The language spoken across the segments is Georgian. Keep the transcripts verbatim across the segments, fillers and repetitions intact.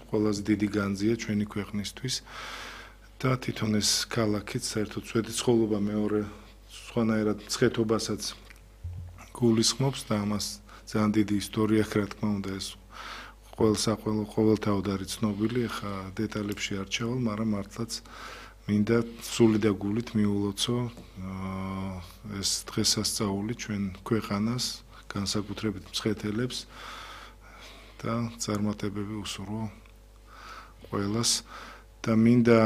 ყველაზე დიდი განძია ჩვენი ქვეყნისთვის და თვითონ ეს ქალაქიც საერთოდ სვეტიცხოვლობა მეორე სხვანაირად მცხეთობასაც გულისხმობს და ამას ძალიან დიდი ისტორია აქვს, რა თქმა უნდა, ეს ყოველსაყველო ყოველთავად არის ცნობილი, ახლა დეტალებში არ ჩავალ, მაგრამ მართლაც მინდა სული და გულით მიულოცო ეს დღესასწაული ჩვენ ქვეყანას, განსაკუთრებით მცხეთელებს და წარმატებები უსურვო ყველას და მინდა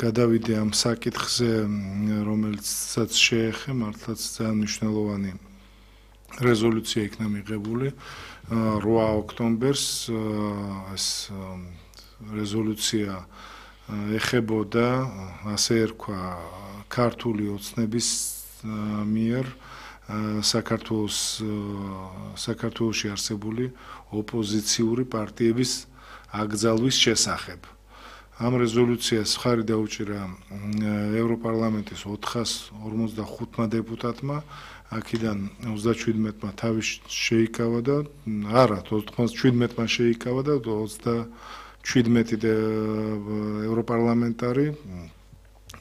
გადავიდე ამ საკითხზე, რომელსაც შეეხე მართლაც ძალიან მნიშვნელოვანი რეზოლუცია იქნა მიღებული რვა ოქტომბერს ეს რეზოლუცია ეხებოდა ასე ერქვა ქართული ოცნების მიერ საქართველოს საქართველოში არსებული ოპოზიციური პარტიების აკრძალვის შესახებ. ამ რეზოლუციას მხარი დაუჭირა ევროპარლამენტის ოთხას ორმოცდახუთმა დეპუტატმა, აქედან ოცდაჩვიდმეტმა თავის შეიკავა და არა, ოცდაჩვიდმეტმა შეიკავა და ოცდაჩვიდმეტი ევროპარლამენტარი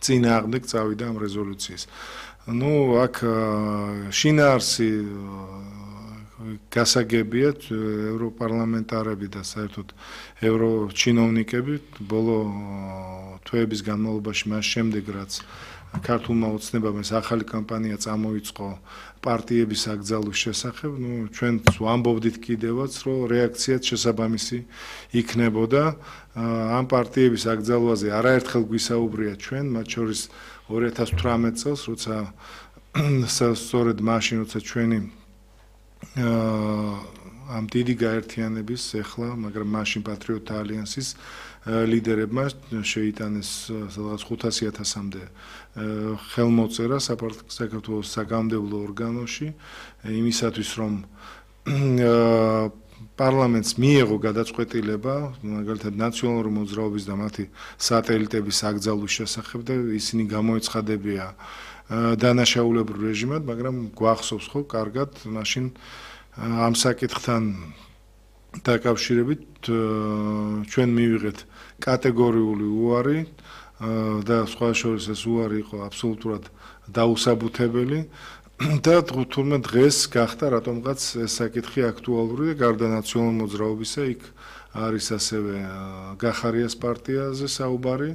წინააღმდეგ წავიდა ამ რეზოლუციის. ნუ აქ შინაარსი გასაგებია ევროპარლამენტარები და საერთოდ ევროჩინოვნიკები ბოლო თვეების განმავლობაში მას შემდეგ რაც ქართულმა ოცნებამ ეს ახალი კამპანია წამოიწყო პარტიების აკრძალვის შესახებ, ნუ ჩვენ ვამბობდით კიდევაც, რომ რეაქციაც შესაბამისი იქნებოდა ამ პარტიების აკრძალვაზე არაერთხელ გვისაუბრია ჩვენ, მათ შორის ორი ათას თვრამეტ წელს, როცა სწორედ მაშინ, როცა ჩვენი ამ დიდი გაერთიანების ეხლა, მაგრამ მაშინ პატრიოტთა ალიანსის ლიდერებმა შეიტანეს სადღაც ხუთასი ათასამდე ხელმოწერა საქართველოს საგამომდევნო ორგანოში იმისათვის, რომ პარლამენტს მიეღო გადაწყვეტილება, მაგალითად ნაციონალური მოძრაობის და მათი სატელიტების აკრძალვის შესახებ და ისინი გამოეცხადებია დანაშაულებრივ რეჟიმად, მაგრამ გვახსოვს ხო კარგად მაშინ ამ საკითხთან დაკავშირებით ჩვენ მივიღეთ კატეგორიული უარი და სხვა შორის ეს უარი იყო აბსოლუტურად დაუსაბუთებელი და თუმცა დღეს გახდა რატომღაც ეს საკითხი აქტუალური და გარდა ნაციონალური მოძრაობისა იქ არის ასევე გახარიას პარტიაზე საუბარი,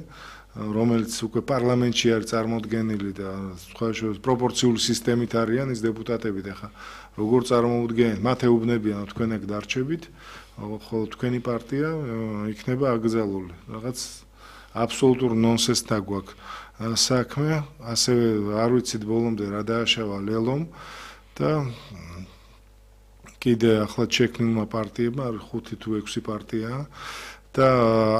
რომელიც უკვე პარლამენტში არის წარმოდგენილი და სხვა შორის პროპორციული სისტემით არიან ის დეპუტატები და ხა როგორ წარმოუდგენთ, მათ ეუბნებიან თქვენ ეგ დარჩებით, ხოლო თქვენი პარტია იქნება აკრძალული. რაღაც აბსოლუტურ ნონსენსთან გვაქვს საქმე, ასევე არ ვიცით ბოლომდე რა დააშავა ლელომ და კიდე ახლა შექმნილმა პარტიებმა ხუთი თუ ექვსი პარტიაა და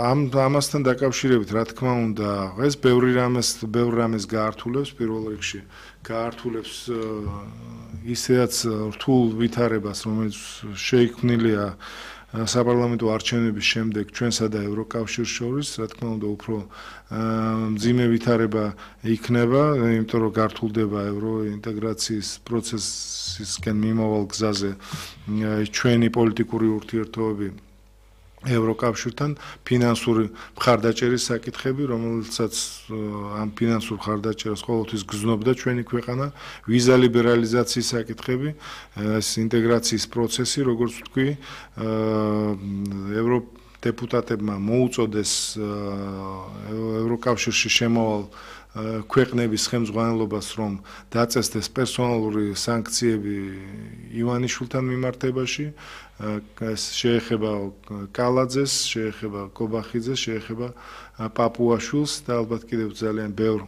ამ ამასთან დაკავშირებით რა თქმა უნდა ეს ბევრი რამეს ბევრ რამეს გაართულებს პირველ რიგში გაართულებს ისედაც რთულ ვითარებას რომელიც შეიქმნილია საპარლამენტო არჩევნების შემდეგ ჩვენსა და ევროკავშირს შორის რა თქმა უნდა უფრო მძიმე ვითარება იქნება იმიტომ რომ გართულდება ევროინტეგრაციის პროცესისკენ მიმავალ გზაზე ჩვენი პოლიტიკური ურთიერთობები ევროკავშირთან ფინანსური მხარდაჭერის საკითხები, რომელსაც ამ ფინანსურ მხარდაჭერას ყოველთვის გზნობდა ჩვენი ქვეყანა, ვიზა ლიბერალიზაციის საკითხები, ეს ინტეგრაციის პროცესი, როგორც ვთქვი, ევროდეპუტატებმა მოუწოდეს ევროკავშირში შემავალ ქვეყნების ხელმძღვანელობას, რომ დაწესდეს პერსონალური სანქციები ივანიშვილთან მიმართებაში, ეს შეეხება კალაძეს, შეეხება კობახიძეს, შეეხება პაპუაშვილს და ალბათ კიდევ ძალიან ბევრ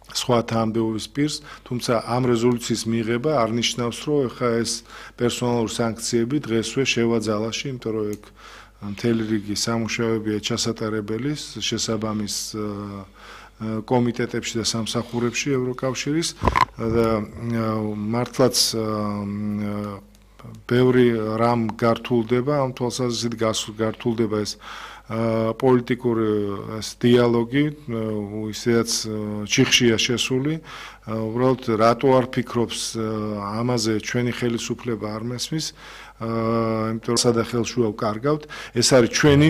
სხვა თანამდებობის პირს, თუმცა ამ რეზოლუციის მიღება არ ნიშნავს, რომ ეხა ეს პერსონალური სანქციები დღესვე შევა ძალაში, იმიტომ რომ ეგ მთელი რიგი სამუშაოებია ჩასატარებელი შესაბამის კომიტეტებში და სამსახურებში ევროკავშირის და მართლაც ბევრი რამ გართულდება ამ თვალსაზრისით გართულდება ეს პოლიტიკური ეს დიალოგი ისედაც ჩიხშია შესული უბრალოდ რატო არ ფიქრობს ამაზე ჩვენი ხელისუფლება არ მესმის იმიტომ რომ სადახელშუა ვკარგავთ ეს არის ჩვენი